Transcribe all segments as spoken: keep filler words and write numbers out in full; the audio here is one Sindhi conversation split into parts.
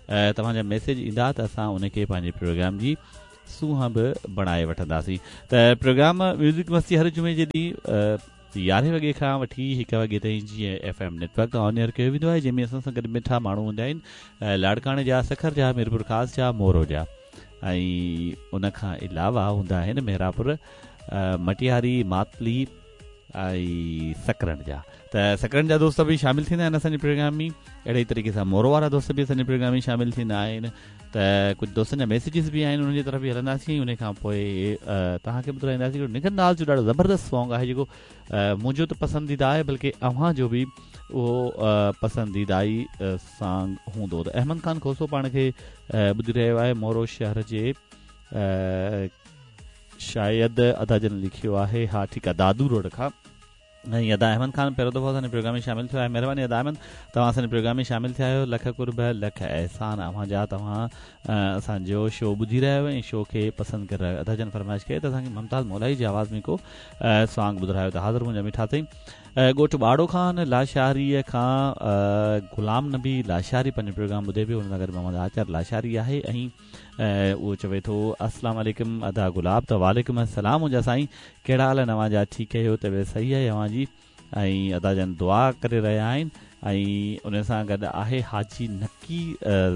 توهان جا ميسيج ايندا ته اسان ان کي پنهنجي پروگرام جي سونهن به بڻائي وٺنداسين. ته پروگرام ميوزڪ مستي هر جمعي جي ڏينهن يارهين وڳي کان وٺي هڪ وڳي تائين جيئن ايف ايم نيٽ ورڪ تان آن ايئر ڪيو ويندو آهي، جنهن ۾ اسان سان گڏ مٺا ماڻهو هوندا آهن لاڙڪاڻي جا، سکر جا، ميرپور خاص جا، مورو جا ۽ ان کان علاوه هوندا آهن مهراپور، مٽياري، ماتلي ۽ سڪرنڊ جا. ته سڪرنڊ جا دوست به شامل ٿيندا آهن اسان جي پروگرام ۾. اهڙي ئي طريقي سان مورو وارا دوست به اسان جي پروگرام ۾ شامل ٿيندا آهن. ته ڪجهه دوستن جا ميسيجز به آهن، انهن جي طرف به هلنداسين. ان کان پوءِ توهان کي ٻڌائينداسين هڪڙو نگهت ناز جو ڏاڍو زبردست سانگ آهي، جيڪو منهنجو ته پسنديده آهي، بلڪه اوهان جو به اهو پسنديده ئي سانگ هوندو. ته احمد خان کوسو پاڻ کي ٻڌي رهيو آهي مورو شهر جي، شايد ادا جن لکيو آهي، ها ٺيڪ آهي، دادو روڊ کان. ۽ ادا احمد خان پهريون دفعو اسان جي پروگرام ۾ شامل ٿيو آهي. مهرباني ادا احمد، توهان اسان جي پروگرام ۾ شامل ٿيا آهيو. لک قرب لک احسان اوهان جا، توهان اسان جو شو ٻڌي رهيا آهيو ۽ شو کي پسند ڪري رهيا آهيو. ادا جن فرمائش ڪئي ته اسان کي ممتاز مولائي جي آواز ۾ ڪو سانگ ٻڌايو، ته حاضر منهنجا مٺا سائين. ڳوٺ ٻاڙو خان لاشاريء کان غلام نبي لاشاري پنهنجو پروگرام ٻڌي پيو. هن سان گڏ محمد آچار لاشاري آهي ۽ اهو چوي ٿو السلام عليڪم ادا گلاب. ته وعليڪم السلام منهنجا سائين، ڪهڙا حال آهن اوهان جا؟ ٺيڪ آهيو؟ طبيعت صحيح آهي اوهان جي؟ ۽ ادا جن دعا ڪري رهيا آهن. ۽ ان سان گڏ آهي حاجي نقي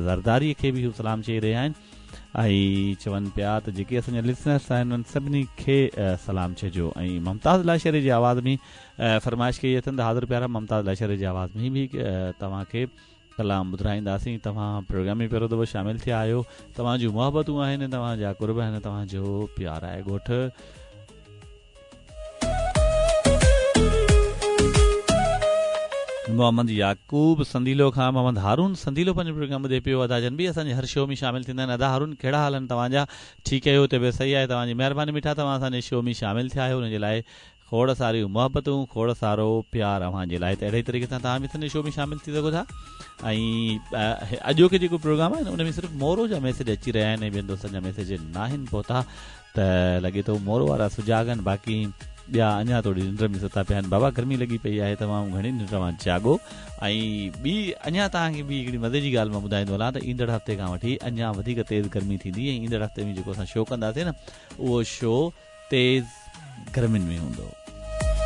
زرداريء کي به هو سلام چئي رهيا آهن ۽ چون پيا ته جيڪي اسان جا لسنرس آهن انهن سڀني کي سلام چئجو. ۽ ممتاز لاشاري جي آواز ۾ فرمائش ڪئي اٿن، ته حاضر پيارا، ممتاز لاشاري جي آواز ۾ به توهان کي ڪلام ٻڌائينداسين. توهان پروگرام ۾ پهريون دفعو شامل ٿيا آهيو، توهان جون محبتون آهن، توهان جا قرب آهن، توهان جو پيار آهي. ڳوٺ محمد يعقوب سنديلو کان محمد هارون سنديلو پنهنجو پروگرام ٻڌي پيو. ادا جن به اسان جي هر شو ۾ شامل ٿيندا آهن. ادا هارون ڪهڙا حال آهن توهان جا؟ ٺيڪ آهيو؟ طبيعت صحيح آهي؟ توهان جي مهرباني مٺا، توهان اسان جي شو ۾ شامل ٿيا آهيو، ان جي لاءِ کوڙ ساريون محبتون، کوڙ سارو پيار اوهان جي لاءِ. ته اهڙي طريقي سان توهان به اسان جي شو ۾ شامل ٿي سگهو ٿا. ۽ اڄوڪي جيڪو پروگرام آهي ان ۾ صرف مورو جا ميسيج اچي رهيا آهن ۽ ٻين دوستن جا ميسيج ناهن پهتا. ته لڳي ٿو مورو وارا سجاڳ آهن، باقي ٻيا اڃا ٿوري ننڊ ۾ ستا پيا آهن. بابا گرمي لڳي پئي آهي، تمام گهڻي ننڊ مان جاڳو. ۽ ٻي اڃا توهان کي ٻي هڪڙي مزي جي ڳالهه مان ٻڌائيندو هلان ته ايندڙ هفتي کان وٺي اڃا وڌيڪ تيز گرمي ٿيندي ۽ ايندڙ هفتي ۾ جيڪو اسان شو ڪنداسين نه، اهو شو تيز گرمين ۾ هوندو.